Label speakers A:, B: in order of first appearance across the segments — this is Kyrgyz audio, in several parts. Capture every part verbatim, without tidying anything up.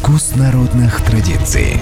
A: Вкус народных традиций.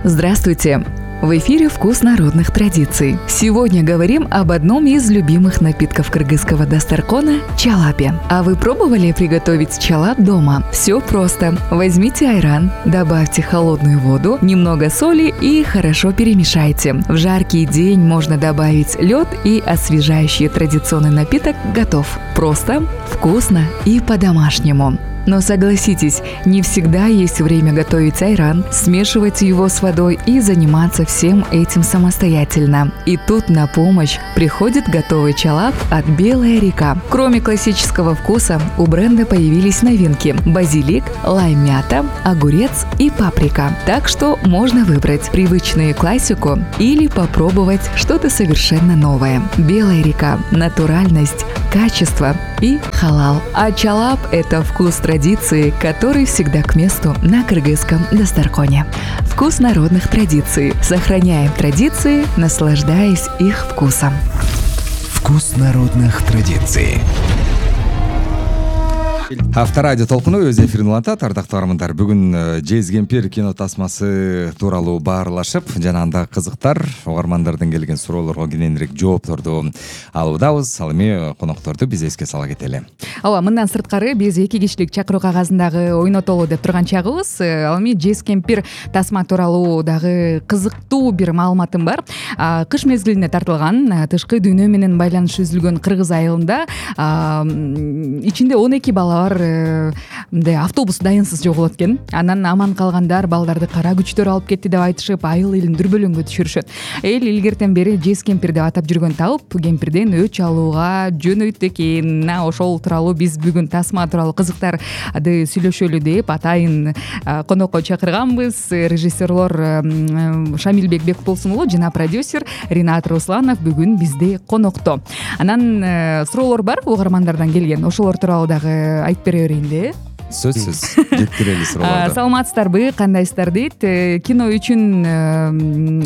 B: Здравствуйте! В эфире «Вкус народных традиций». Сегодня говорим об одном из любимых напитков кыргызского дастаркона – чалапе. А вы пробовали приготовить чалап дома? Все просто. Возьмите айран, добавьте холодную воду, немного соли и хорошо перемешайте. В жаркий день можно добавить лед, и освежающий традиционный напиток готов. Просто, вкусно и по-домашнему. Но согласитесь, не всегда есть время готовить айран, смешивать его с водой и заниматься всем этим самостоятельно. И тут на помощь приходит готовый чалап от «Белая река». Кроме классического вкуса, у бренда появились новинки – базилик, лайм-мята, огурец и паприка. Так что можно выбрать привычную классику или попробовать что-то совершенно новое. «Белая река» – натуральность, качество и халал. А чалап – это вкус традиции, который всегда к месту на кыргызском дастарконе. Вкус народных традиций. Сохраняем традиции, наслаждаясь их вкусом.
A: Вкус народных традиций.
C: Авторадио толкуну өз эфирин улантат. Ардактуу армандар, бүгүн Жез Кемпир кино тасмасы тууралуу баарлашып, жана анда кызыктар угармандардын келген суроолорго кененирээк жоопторду алуудабыз. Ал эми конокторду биз эске сала кетели.
B: Ооба, мындан сырткары биз эки кишилик чакыруу кагазындагы ойнотолу деп турган чагыбыз. Ал эми Жез Кемпир тасма тууралуу дагы кызыктуу бир маалыматым бар. Кыш мезгилине тартылган, тышкы дүйнө менен байланышы үзүлгөн Кыргыз айылында ичинде он эки бала бар, мындай автобус дайынсыз жоголот экен. Анан аман калгандар балдарды кара күчтөр алып кетти деп айтышып, айыл элин дүрбөлөңгө түшүрүшөт. Эл илгертен бери Жез Кемпир деп атап жүргөн табып, кемпирден өч алууга жөнөйт экен. Ошол тууралуу биз бүгүн тасма тууралуу кызыктарды сүйлөшөлү деп атайын конокко чакырганбыз. Режиссерлор Шамилбек Бекболсун уулу жана продюсер Ринат Русланов бүгүн бизде конокто. Анан суроолор бар угармандардан келген. Ошолор тууралуу дагы айтып бере берейинди.
C: Сөзсүз жеткирели суроолорду.
B: Саламатсыздарбы, кандайсыздар дейт. Кино үчүн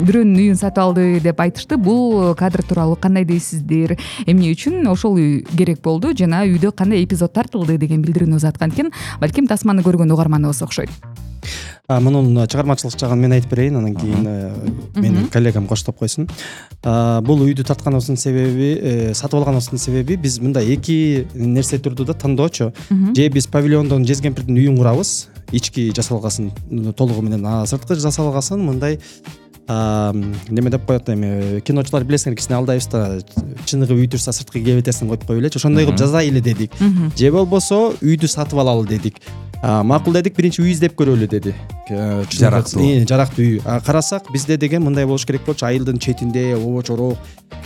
B: бирөөнүн үйүн сатып алды деп айтышты. Бул кадр тууралуу кандай дейсиздер? Эмне үчүн ошол үй керек болду жана үйдө кандай эпизод тартылды деген билдирүүнү узаткан экен. Балким тасманы көргөн угарманыбыз окшойт.
D: Мунун чыгармачылык жагын мен айтып берейин, анан кийин менин коллегам коштоп койсун. Бул үйдү тартканыбыздын себеби, сатып алганыбыздын себеби биз мындай эки нерсе турду да тандоочу. Же биз павильондон Жез Кемпирдин үйүн курабыз, ички жасалгасын толугу менен, сырткы жасалгасын мындай неме деп коет эми киночулар билесиңер, кичине алдайбыз да, чыныгы үй турса сырткы кебетесин коюп коелучу, ошондой кылып жазайлы дедик. Же болбосо үйдү сатып алалы дедик. Макул дедик, биринчи үй издеп көрөлү деди.
C: Жарактуу.
D: Жарактуу үй. Карасак бизде деген мындай болуш керек болчу, айылдын четинде обочорок,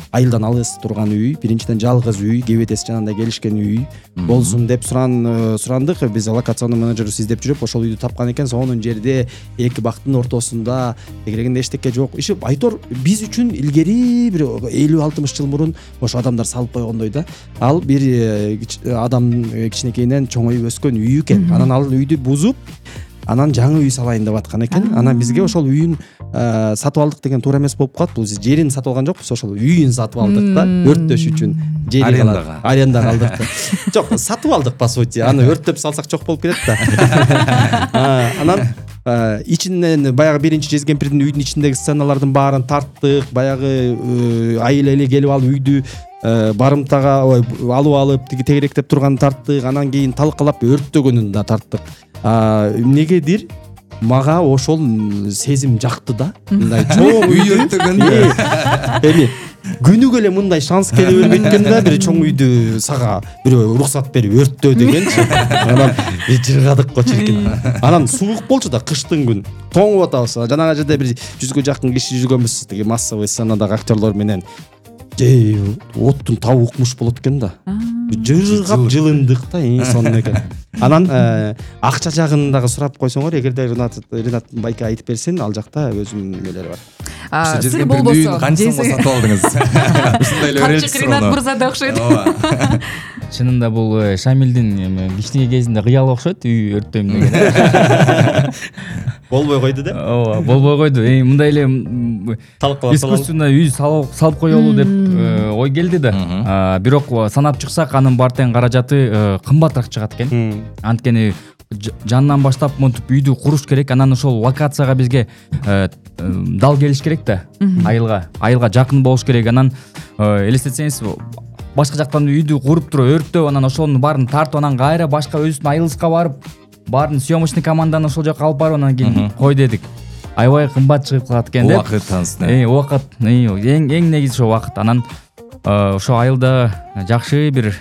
D: айылдан алыс турган үй, биринчиден жалгыз үй, кебетеси жанында келишкен үй болсун деп суран сурандык. Биз локационный менеджерибиз издеп жүрүп ошол үйдү тапкан экен. Сонун жерде эки бактын ортосунда, тегерегинде эчтеке жок. Иши айтор биз үчүн илгери бир элүү алтымыш жыл мурун ошо адамдар салып койгондой да. Ал бир адам кичинекейинен чоңоюп өскөн үй экен. Анан ал үйдү бузуп, анан жаңы үй салайын деп аткан экен. Анан бизге ошол үйүн сатып алдык деген туура эмес болуп калат. Бул жерин сатып алган жокпуз, ошол үйүн сатып алдык да, өрттөш үчүн.
C: Арендага.
D: Арендага алдык да. Жок, сатып алдык по сути. Аны өрттөп салсак жок болуп кетет да. Анан ичинен баягы биринчи Жез Кемпирдин үйдүн ичиндеги сценалардын баарын тарттык. Баягы айыл эли келип алып үйдү барымтага алып алып тегеректеп турганын тарттык. Анан кийин талкалап өрттөгөнүн да тарттык. Эмнегедир мага ошол сезим жакты да. Мындай чоң үй өрттөгөндө эми күнүгө эле мындай шанс келе бербейт экен да, бир чоң үйдү сага бирөө уруксат берип өрттөө дегенчи. Анан жыргадык го чиркин. Анан суук болчу да, кыштын күн. Тоңуп атабыз. Жанагы жерде бир жүзгө жакын киши жүргөнбүз, тиги массовый сценадагы актерлор менен. Же оттун табы укмуш болот экен да. Жыргап жылындык да, сонун экен. Анан акча жагын дагы сурап койсоңор, эгерде Ринат Ринат байке айтып берсин, ал жакта өзүнүн нелери бар.
B: сыр болбосо
C: канча сатып алдыңыз? Ушундай эле
B: Камчык Ринат мырза да окшойт.
E: Чынында бул Шамилдин эми кичинекей кезинде кыялы окшойт, үй өрттөйм деген.
D: Болбой койду деп.
E: Ооба, болбой койду. Эми мындай эле искусственно үй салып коелу деп ой келди да. Бирок санап чыксак анын бар тең каражаты кымбатыраак чыгат экен. Анткени жанынан баштап монтип үйдү куруш керек, анан ошол локацияга бизге дал келиш керек да. Айылга, айылга жакын болуш керек. Анан элестетсеңиз, башка жактан үйдү куруп туруп өрттөп, анан ошонун баарын тартып, анан кайра башка өзүбүздүн айылыбызга барып, баарын съемочный команданы ошол жака алып барып, анан кийин кой дедик. Аябай кымбат чыгып калат экен деп.
C: Убакыт танысты.
E: Э, убакыт, эң эң негизи ошо убакыт. Анан ошо айылда жакшы бир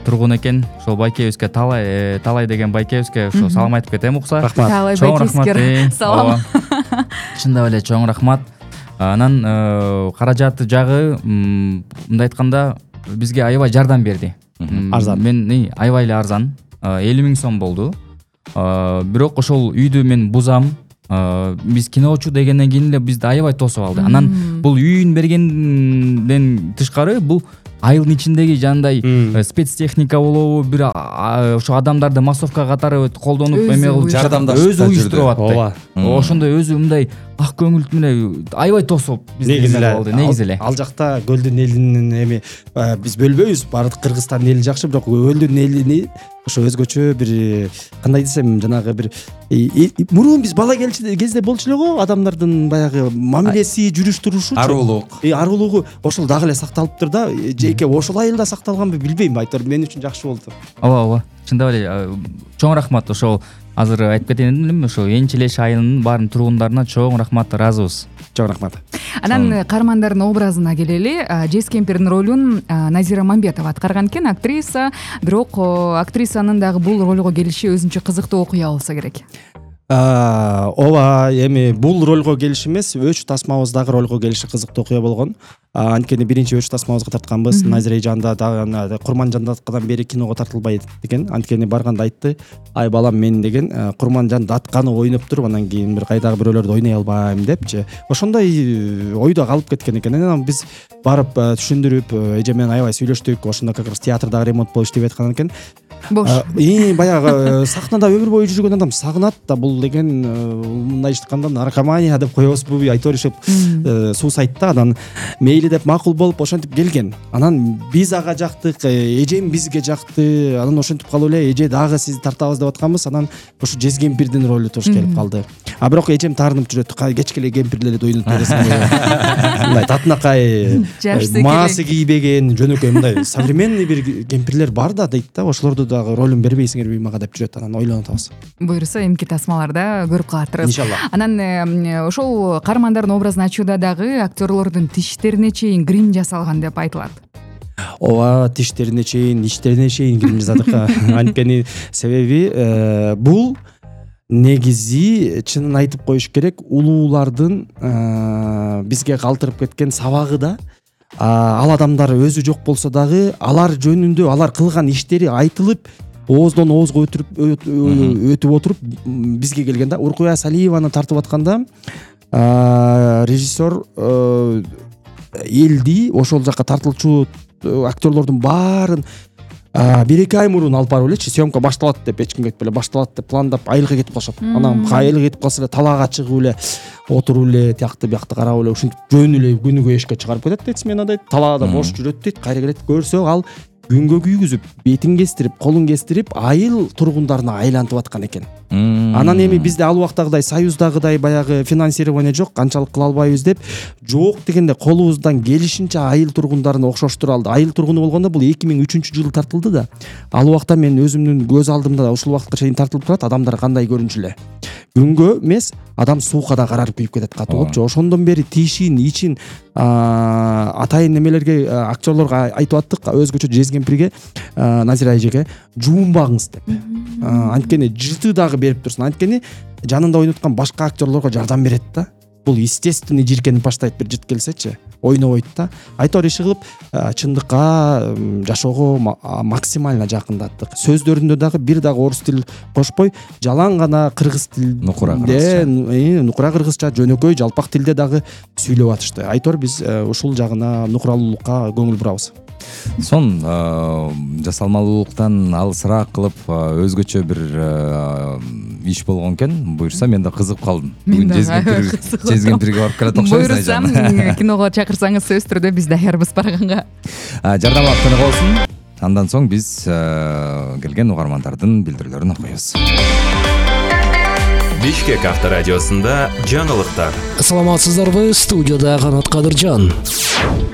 E: тургун экен. Ошол байкебизге Талай, Талай деген байкебизге ошо салам айтып кетем укса.
D: Рахмат.
B: Талай байкебизге салам.
E: Чындап эле чоң рахмат. Анан каражаты жагы мындай айтканда бизге аябай жардам берди.
D: Арзан.
E: Мен аябай эле арзан. элүү миң сом болду. Бирок ошол үйдү мен бузам. Биз киночу дегенден кийин эле бизди аябай тосуп алды. Анан бул үйүн бергенден тышкары бул айылдын ичиндеги жандай спецтехника болобу, бир ошо адамдарды массовка катары колдонуп эме кылып
C: жардамдашып
E: өзү уюштуруп атты.
D: Ооба.
E: Ошондой өзү мындай ак көңүл менен аябай тосуп
D: негизи эле
E: негизи эле.
D: Ал жакта көлдүн элинин эми биз бөлбөйбүз, баардык Кыргызстандын эли жакшы, бирок көлдүн элини ошо өзгөчө бир кандай десем, жанагы бир мурун биз бала кезде болчу эле го, адамдардын баягы мамилеси, жүрүш турушу,
C: арулук.
D: Э, арулугу ошол дагы эле сакталыптыр да. Жеке ошол айылда сакталганбы билбейм, айтор мен үчүн жакшы болду.
E: Ооба, ооба. Чындап эле чоң рахмат. Ошол азыр айтып кетейин элем, ошо Энчилеш айылынын баарын тургундарына чоң рахмат, ыраазыбыз.
D: Чоң рахмат.
B: Анан каармандардын образына келели. Жез кемпирдин ролун Назира Мамбетова аткарган экен, актриса. Бирок актрисанын дагы бул ролго келиши өзүнчө кызыктуу окуя болсо керек.
D: Ооба, эми бул ролго келиш эмес, өч тасмабыз дагы ролго келиши кызыктуу окуя болгон. Анткени биринчи өч тасмабызга тартканбыз. Назира эжанда дагы Курманжандаткадан бери киного тартылбайт деген. Анткени барганда айтты: "Ай балам, мен деген Курманжандатканы ойноп туруп, анан кийин бир кайдагы бирөөлөрдү ойной албайм" депчи. Ошондой ойдо калып кеткен экен. Анан биз барып түшүндүрүп, эже менен аябай сүйлөштүк. Ошондо как раз театрдагы ремонт болуп иштеп аткан экен.
B: Бош.
D: И баягы сахнада өмүр бою жүргөн адам сагынат да, бул деген мындай айтканда наркомания деп коебузбу, айтып беришип суусайт да. Анан мейли деп макул болуп ошентип келген. Анан биз ага жактык, эжем бизге жакты. Анан ошентип калып эле эже дагы сизди тартабыз деп атканбыз. Анан ошо Жез кемпирдин ролу туш келип калды. А бирок эжем таарынып жүрөт. Кечке эле кемпирлерди ойнотуп бересиң. Мындай татынакай маасы кийбеген, жөнөкөй мындай современный бир кемпирлер бар да дейт да. Ошолорду дагы ролун бербейсиңерби мага деп жүрөт. Анан ойлонуп атабыз.
B: Буюрса эмки тасмаларда көрүп калатырбыз.
D: Иншалла.
B: Анан ошол каармандардын образын ачууда дагы актерлордун тиштерине чейин грим жасалган деп айтылат.
D: Ооба, тиштерине чейин, иштерине чейин грим жасадык. Анткени себеби бул негизи чынын айтып коюш керек, улуулардын бизге калтырып кеткен сабагы да. Ал адамдар өзү жок болсо дагы алар жөнүндө, алар кылган иштери айтылып, ооздон оозго өтүп өтүп отуруп бизге келген да. Уркуя Салиеваны тартып атканда режиссер элди ошол жака тартылчу актерлордун баарын бир эки ай мурун алып барып элечи, съемка башталат деп, эч кимге айтпай эле башталат деп пландап айылга кетип калышат. Анан айылга кетип калса эле талаага чыгып эле отуруп эле тиякты биякты карап эле ушинтип жөн эле күнүгө эшикке чыгарып кетет дейт смена дейт. Талаада бош жүрөт дейт, кайра келет. Көрсө ал күнгө күйгүзүп, бетин кестирип, колун кестирип, айыл тургундарына айлантып аткан экен. Анан эми бизде ал убактагыдай союздагыдай баягы финансирование жок, канчалык кыла албайбыз деп, жок дегенде колубуздан келишинче айыл тургундарын окшоштура алды. Айыл тургуну болгондо бул эки миң үчүнчү жылы тартылды да. Ал убакта мен өзүмдүн көз алдымда ушул убакытка чейин тартылып турат, адамдар кандай көрүнчү эле. Күнгө эмес, адам суукада карарып күйүп кетет катуу болупчу. Ошондон бери тишин, ичин атайын немелерге, актерлорго айтып аттык, өзгөчө Жез кемпирге, Назира эжеге жуунбагыңыз деп. Анткени жыты дагы берип турсун. Анткени жанында ойноткан башка актерлорго жардам берет да. бул естественный жийиркенип баштайт бир жыт келсечи, ойнобойт да. Айтор иши кылып чындыкка жашоого максимально жакындаттык. Сөздөрүндө дагы бир дагы орус тил кошпой, жалаң гана кыргыз тилинде, нукура кыргызча, жөнөкөй жалпак тилде дагы сүйлөп атышты. Айтор биз ушул жагына, нукуралуулукка көңүл бурабыз.
C: Сон жасалмалуулуктан алысыраак кылып өзгөчө бир иш болгон экен. Буюрса мен да кызыгып калдым. Бүгүн Жезкемпирге барып келе окшойбуз.
B: Буюрсам киного чакырсаңыз сөзсүз түрдө биз даярбыз барганга.
C: Жардамлап тынык болсун. Андан соң биз келген угармандардын билдирүүлөрүн окуйбуз.
F: Бишкек авторадиосунда жаңылыктар.
G: Саламатсыздарбы, студияда Канат Кадыржан.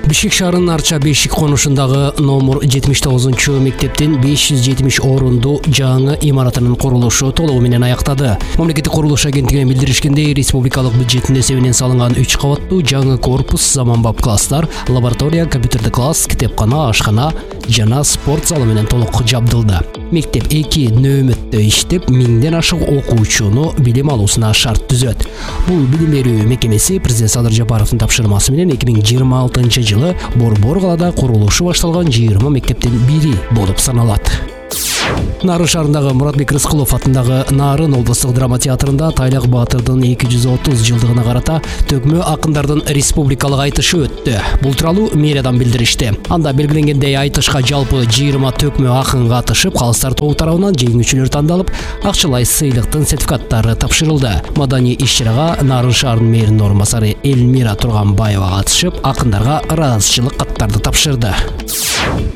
G: Бишкек шаарынын Арча Бешик конушундагы номер жетимиш тогузунчу мектептин беш жүз жетимиш орунду жаңы имаратынын курулушу толугу менен аяктады. Мамлекеттик курулуш агенттигинен билдиришкендей, республикалык бюджеттин эсебинен салынган үч кабаттуу жаңы корпус, заманбап класстар, лаборатория, компьютердик класс, китепкана, ашкана жана спорт залы менен толук жабдылды. Мектеп эки нөөмөттө иштеп, миңден ашык окуучуну билим алуусуна шарт түзөт. Бул билим берүү мекемеси президент Садыр Жапаровдун тапшырмасы менен эки миң жыйырма алтынчы жылы Борбор калада курулушу башталган жыйырма мектептин бири болуп саналат. Нарын шаарындагы Муратбек Рыскулов атындагы Нарын облустук драма театрында Тайлак Баатырдын эки жүз отуз жылдыгына карата төкмө акындардын республикалык айтышы өттү. Бул тууралуу мэриядан билдиришти. Анда белгиленгендей айтышка жалпы жыйырма төкмө акын катышып, калыстар тобу тарабынан жеңүүчүлөр тандалып, акчалай сыйлыктын сертификаттары тапшырылды. Маданий иш-чарага Нарын шаарынын мэринин орун басары Эльмира Турганбаева катышып, акындарга ыраазычылык каттарды тапшырды.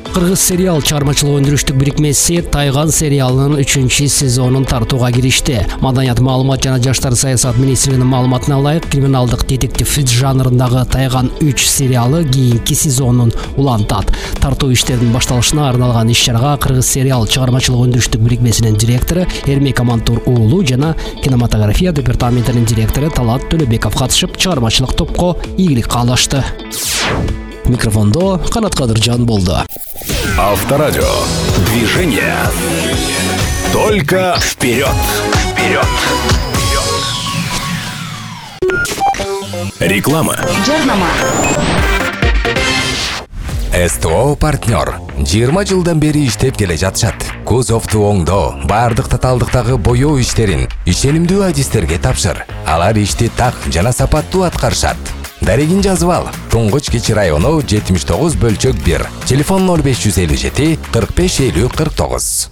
G: Кыргыз сериал чыгармачылык өндүрүштүк бирикмеси Тайган сериалынын үчүнчү сезонун тартууга киришти. Маданият, маалымат жана жаштар саясат министрлигинин маалыматына ылайык, криминалдык детектив жанрындагы Тайган үч сериалы кийинки сезонун улантат. Тартуу иштеринин башталышына арналган иш-чарага Кыргыз сериал чыгармачылык өндүрүштүк бирикмесинин директору Эрмек Амантур уулу жана кинематография департаментинин директору Талат Төлөбеков катышып, чыгармачылык топко ийгилик каалашты. Микрофондо Канат Кадыржан болду.
F: Авторадио. Движение. Только вперед. Вперед. Реклама.
B: Жарнама.
A: СТО партнер жыйырма жылдан бери иштеп келе жатышат. Кузовду оңдоо, баардык татаалдыктагы боёо иштерин ишенимдүү адистерге тапшыр. Алар ишти так жана сапаттуу аткарышат. Дарегин жазып ал. Туңгуч Кичи району жетимиш тогуз бөлчөк бир. Телефон ноль беш жүз элүү жети кырк беш элүү кырк тогуз.